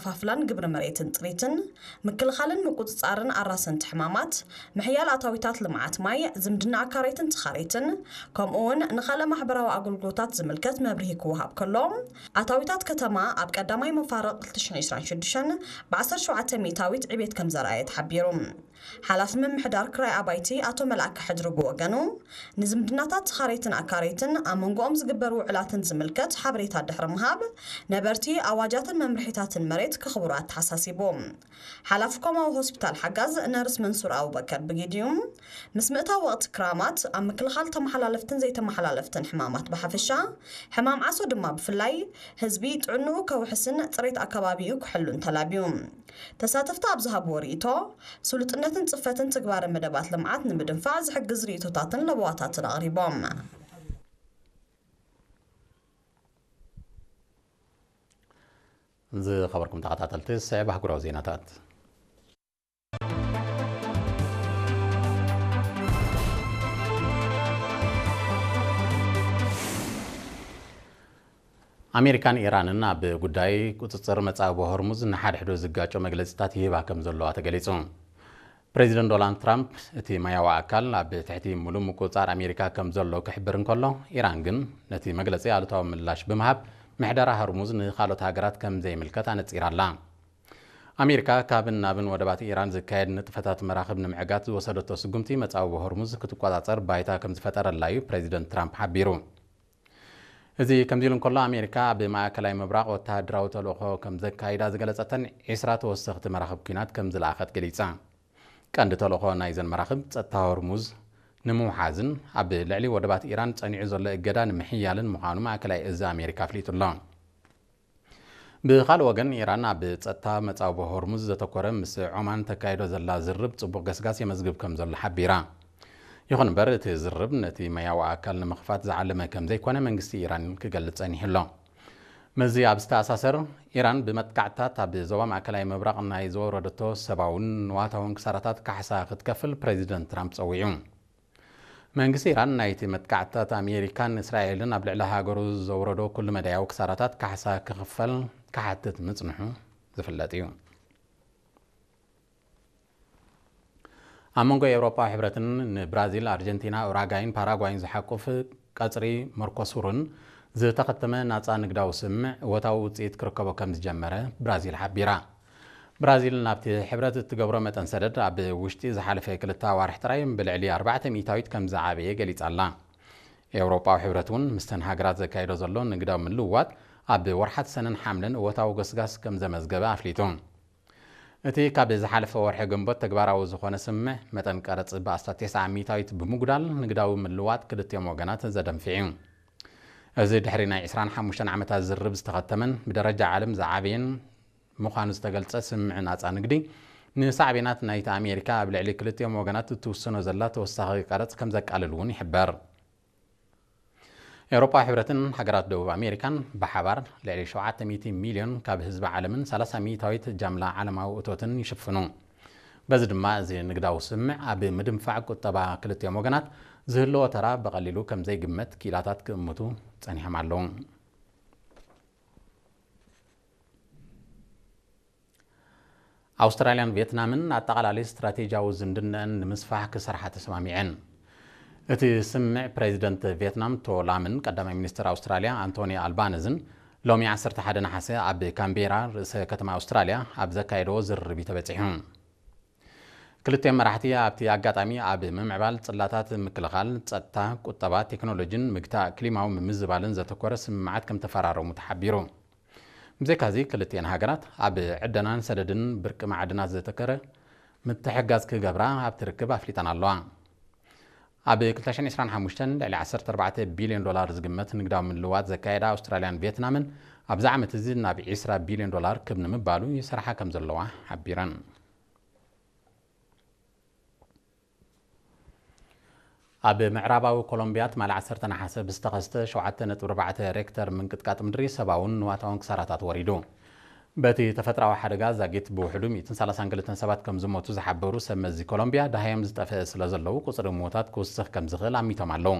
ምክፍፋልን ግብሪ መሬትን ጥሪትን፣ ምክልኻልን ምቁጽጻርን ኣራሰንቲ ሕማማት፣ ምሕያል ኣታዊታት ልምዓት ማይ፣ ዝምድና ኣካረይትን ተኻረይትን፣ ከምኡ እውን ንኻልእ ማሕበራዊ ኣገልግሎታት ዝምልከት መብርሂ ክወሃብ ከሎ፣ ኣታዊታት ከተማ ኣብ ቀዳማይ መፋርቕ ክልተ ሽሕን ዕስራን ሽዱሽተን ብ ዓሰርተ ሸውዓተ ሚእታዊት ዕቤት ከም ዘርኣየ ተሓቢሩ። ሓላፊ ምምሕዳር ክራይ ኣባይቲ ኣቶ መልኣከ ሕድሪ ብወገኑ፣ ንዝምድናታት ተኻረይትን ኣካረይትን ኣብ መንጎኦም ዝግበር ውዕላትን ዝምልከት ሓበሬታ ድሕሪ ምሃብ፣ ነበርቲ ኣዋጃትን መምርሒታትን መሬት ከኽብሩ ኣተሓሳሲቡ። ሓላፊ ኮማዊ ሆስፒታል ሓጋዝ ነርስ መንሱር ኣቡበከር ብጊዲኡ፣ ምስ ምእታው ወቕቲ ክራማት ኣብ ምክልኻል ተመሓላለፍትን ዘይተመሓላለፍትን ሕማማት ብሓፈሻ፣ ሕማም ዓሶ ድማ ብፍላይ፣ ህዝቢ ጥዕንኡ ከውሕስን ጽሬት ኣከባቢኡ ክሕሉን ተላብዩ። ተሳተፍቲ ኣብ ዝሃብዎ ርእይቶ፣ ስሉጥነትን ጽፈትን ትግባረ መደባት ልምዓት ንምድንፋዕ ዝሕግዝ ርእይቶታትን ለበዋታትን ኣቕሪቦም። ዝኸበርኩም ተኸታተልቲ፣ ዝስዕብ ኣህጉራዊ ዜናታት። ኣሜሪካን ኢራንን ኣብ ጉዳይ ቁጽጽር መጻብቦ ሆርሙዝ ንሓድሕዱ ዝጋጮ መግለጺታት ይህባ ከም ዘለዋ ተገሊጹ። ፕሬዚደንት ዶናልድ ትራምፕ እቲ ማያዊ ኣካል ኣብ ትሕቲ ምሉእ ምቁጽጻር ኣሜሪካ ከም ዘሎ ክሕብር እንከሎ፣ ኢራን ግን ነቲ መግለጺ ኣሉታዊ ምላሽ ብምሃብ ምሕደራ ሆርሙዝ ንኻልኦት ሃገራት ከም ዘይምልከት ኣነጺራ ኣላ። ኣሜሪካ ካብን ናብን ወደባት ኢራን ዝካየድ ንጥፈታት መራኽብ ንምዕጋት ዝወሰደቶ ስጉምቲ መጻብቦ ሆርሙዝ ክትቆጻጸር ባይታ ከም ዝፈጠረላ እዩ ፕሬዚደንት ትራምፕ ሓቢሩ። እዚ ከምዚ ኢሉ እንከሎ፣ ኣሜሪካ ኣብ ማእከላይ ምብራቕ ወተሃደራዊ ተልእኾ ከም ዘካይዳ ዝገለጸተን ዒስራ ተወሰኽቲ መራኽብ ኲናት ከም ዝለኣኸት ገሊጻ። ቀንዲ ተልእኾ ናይዘን መራኽብ ጸጥታ ሆርሙዝ ንምውሓዝን ኣብ ልዕሊ ወደባት ኢራን ጸኒዑ ዘሎ እገዳ ንምሕያልን ምዃኑ ማእከላይ እዚ ኣሜሪካ ኣፍሊጡ ኣሎ። ብኻልእ ወገን፣ ኢራን ኣብ ጸጥታ መጻብቦ ሆርሙዝ ዘተኮረ ምስ ዖማን ተካይዶ ዘላ ዝርብ ጽቡቕ ገስጋስ የመዝግብ ከም ዘሎ ሓቢራ። ይኹን እምበር፣ እቲ ዝርብ ነቲ ማያዊ ኣካል ንምኽፋት ዝዓለመ ከም ዘይኮነ መንግስቲ ኢራን ክገልጽ ጸኒሑ ኣሎ። ምስዚ ኣብ ዝተኣሳሰር፣ ኢራን ብመጥቃዕትታት ኣብ ዞባ ማእከላይ ምብራቕ ናይ ዘወረደቶ ሰብኣውን ንዋታውን ክሳራታት ካሕሳ ክትከፍል ፕሬዚደንት ትራምፕ ጸዊዑ። መንግስቲ ኢራን ናይቲ መጥቃዕትታት ኣሜሪካን እስራኤልን ኣብ ልዕሊ ሃገሩ ዘውረዶ ኩሉ መዳያዊ ክሳራታት ካሕሳ ክኽፈል ክሓትት ምጽንሑ ዝፍለጥ እዩ። ኣብ መንጎ ኤውሮጳዊ ሕብረትን ንብራዚል፣ ኣርጀንቲና፣ ኡራጋይን ፓራጓይን ዝሓቁፍ ቀጽሪ መርኮሱርን ዝተኸተመ ናጻ ንግዳዊ ስምምዕ እወታዊ ውጽኢት ክርከቦ ከም ዝጀመረ ብራዚል ሓቢራ። ብራዚል ናብቲ ሕብረት እትገብሮ መጠን ሰደድ ኣብ ውሽጢ ዝሓለፈ ክልተ ኣዋርሕ ጥራይ ብልዕሊ ኣርባዕተ ሚእታዊት ከም ዝዓበየ ገሊጻ ኣላ። ኤውሮጳዊ ሕብረት እውን ምስተን ሃገራት ዘካይዶ ዘሎ ንግዳዊ ምልውዋጥ ኣብ ወርሓት ሰነን ሓምለን እወታዊ ገስጋስ ከም ዘመዝገበ ኣፍሊጡ። እቲ ካብ ዝሓለፈ ወርሒ ግንቦት ተግባራዊ ዝኾነ ስምምዕ መጠን ቀረጽ ብኣስታት ተስዓ ሚእታዊት ብምጉዳል ንግዳዊ ምልውዋጥ ክልቲኦም ወገናት ዘደንፍዕ እዩ። እዚ ድሕሪ ናይ ዕስራን ሓሙሽተን ዓመታት ዝርብ ዝተኸተመን ብደረጃ ዓለም ዝዓበየን ምዃኑ ዝተገልጸ ስምምዕ ናጻ ንግዲ፣ ንሳዕቤናት ናይቲ ኣሜሪካ ኣብ ልዕሊ ክልቲኦም ወገናት እትውስኖ ዘላ ተወሳኺ ቀረጽ ከም ዘቃልል እውን ይሕበር። ኤውሮጳዊ ሕብረትን ሃገራት ደቡብ ኣሜሪካን ብሓባር ልዕሊ ሸውዓተ ሚእቲ ሚልዮን ካብ ህዝቢ ዓለምን ሰላሳ ሚእታዊት ጃምላ ዓለማዊ እቶትን ይሽፍኑ። በዚ ድማ እዚ ንግዳዊ ስምምዕ ኣብ ምድንፋዕ ቁጠባ ክልቲኦም ወገናት ዝህልዎ ተራ ብቐሊሉ ከም ዘይግመት ክኢላታት ክእምቱ ጸኒሖም ኣለዉ። ኣውስትራልያን ቪየትናምን ኣጠቓላሊ ስትራቴጂያዊ ዝምድነአን ንምስፋሕ ክሰርሓ ተሰማሚዐን። እቲ ስምምዕ ፕሬዚደንት ቪየትናም ቶ ላምን ቀዳማይ ሚኒስትር ኣውስትራልያ ኣንቶኒ ኣልባነዝን ሎሚ ዓሰርተ ሓደ ነሓሰ ኣብ ካምቤራ ርእሰ ከተማ ኣውስትራልያ ኣብ ዘካየድዎ ዝርርብ እዩ ተበጺሑ። ክልቲኦም መራሕቲ ኣብቲ ኣጋጣሚ ኣብ ምምዕባል ጽላታት ምክልኻል፣ ጸጥታ፣ ቁጠባ፣ ቴክኖሎጂን ምግታእ ክሊማዊ ምምዝባልን ዘተኮረ ስምምዓት ከም ተፈራረሙ ተሓቢሩ። ብዘይካዚ ክልቲኤን ሃገራት ኣብ ዕደናን ሰደድን ብርቂ ማዕድናት ዘተኮረ ምትሕግጋዝ ክገብራ ኣብቲ ርክብ ኣፍሊጠን ኣለዋ። ኣብ ክልተ ሽሕን ዕስራን ሓሙሽተን ልዕሊ ዓሰርተ ኣርባዕተ ቢልዮን ዶላር ዝግመት ንግዳዊ ምልውዋጥ ዘካየዳ ኣውስትራልያን ቪየትናምን ኣብዚ ዓመት እዚ ናብ ዕስራ ቢልዮን ዶላር ክብ ንምባሉ ይሰርሓ ከም ዘለዋ ሓቢረን። ኣብ ምዕራባዊ ኮሎምቢያ ትማሊ ዓሰርተ ነሓሰ ብዝተኸስተ ሸውዓተ ነጥቢ ኣርባዕተ ሬክተር ምንቅጥቃጥ ምድሪ ሰብኣውን ንዋታውን ክሳራታት ወሪዱ። በቲ ተፈጥራዊ ሓደጋ ዛጊት ብውሕዱ ሚእትን ሰላሳን ክልተን ሰባት ከም ዝሞቱ ዝሓበሩ ሰብ መዚ ኮሎምቢያ፣ ደሃዮም ዝጠፍአ ስለ ዘለዉ ቁጽሪ ምዉታት ክውስኽ ከም ዝኽእል ኣሚቶም ኣለዉ።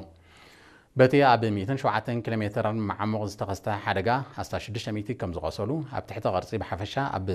በቲ ኣብ ሚእትን ሸውዓተን ኪሎ ሜተር መዓሙቕ ዝተኸስተ ሓደጋ ኣስታት ሽዱሽተ ሚእቲ ከም ዝቖሰሉ፣ ኣብ ትሕቲ ቅርጺ ብሓፈሻ ኣብ